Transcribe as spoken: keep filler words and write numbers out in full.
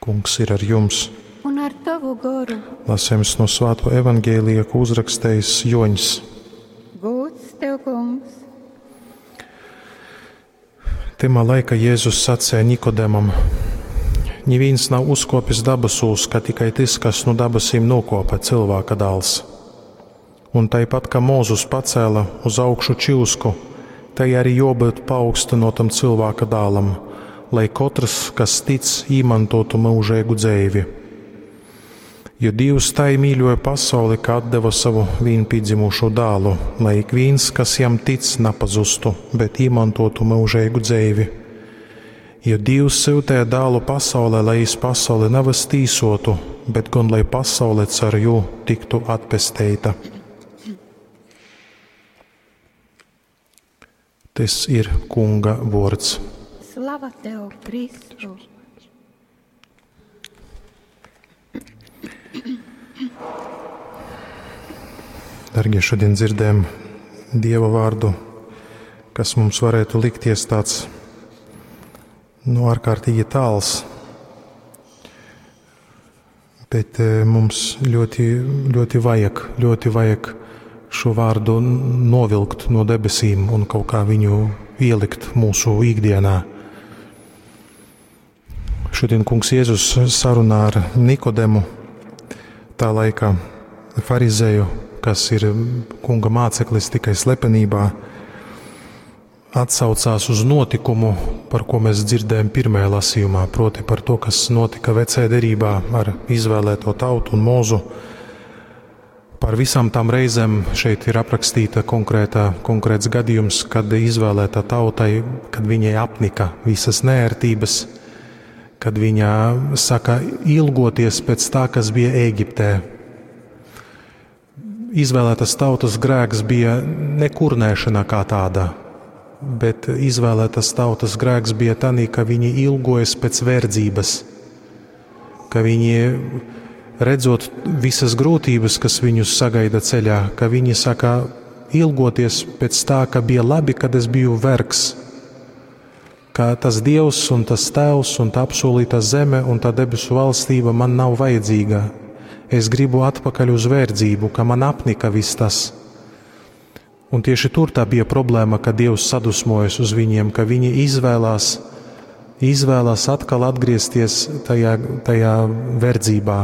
Kungs ir ar jums! Un ar tavu goru. Lasījums no Svāto evaņģēlija, ko uzrakstījis Joņs. Gods tev, kungs! Tymā laika Jēzus sacēja Nikodemam: Nivīns nav uzkopis dabasūs, ka tikai tys, kas nu dabasīm nokopa, cilvēka dāls. Un taipat, kā Mūzus pacēla uz augšu čyusku, tai arī jābūt paaugstinotam cilvēka dālam, lai katrs, kas tic, īmantotu mūžīgu dzeivi. Jo Dievs tai mīļoja pasauli, ka atdeva savu vienpiedzimušo dālu, lai ik viens, kas jam tic, nepazustu, bet īmantotu mūžīgu dzeivi. Jo Dievs sūtīja dālu pasaulē, lai iz pasauli nevis tīsotu, bet gan lai pasaule caur jū tiktu atpesteita. Tas ir Kunga vārds. Slava tev, Kristu! Dargie, šodien dzirdējam Dieva vārdu, kas mums varētu likties tāds nu, ārkārtīgi tāls, bet eh, mums ļoti, ļoti vajag, ļoti vajag šo vārdu novilkt no debesīm un kaut kā viņu ielikt mūsu ikdienā. Šodien kungs Jēzus sarunā ar Nikodemu, tā laika farizēju, kas ir kunga māceklis tikai slepenībā, atsaucās uz notikumu, par ko mēs dzirdējam pirmajā lasījumā, proti par to, kas notika vecajā derībā ar izvēlēto tautu un mūzu. Par visām tām reizēm šeit ir aprakstīta konkrēta, konkrēts gadījums, kad izvēlētā tautai, kad viņai apnika visas nērtības, kad viņa saka ilgoties pēc tā, kas bija Ēģiptē. Izvēlētas tautas grēks bija nekurnēšana kā tāda, bet izvēlētas tautas grēks bija tanī, ka viņi ilgojas pēc verdzības, ka viņi, redzot visas grūtības, kas viņus sagaida ceļā, ka viņi saka ilgoties pēc tā, ka bija labi, kad es biju vergs, ka tas Dievs un tas Tēvs un tā apsolītā zeme un tā debesu valstība man nav vajadzīga. Es gribu atpakaļ uz verdzību, ka man apnika viss tas. Un tieši tur tā bija problēma, ka Dievs sadusmojas uz viņiem, ka viņi izvēlās, izvēlās atkal atgriezties tajā, tajā verdzībā.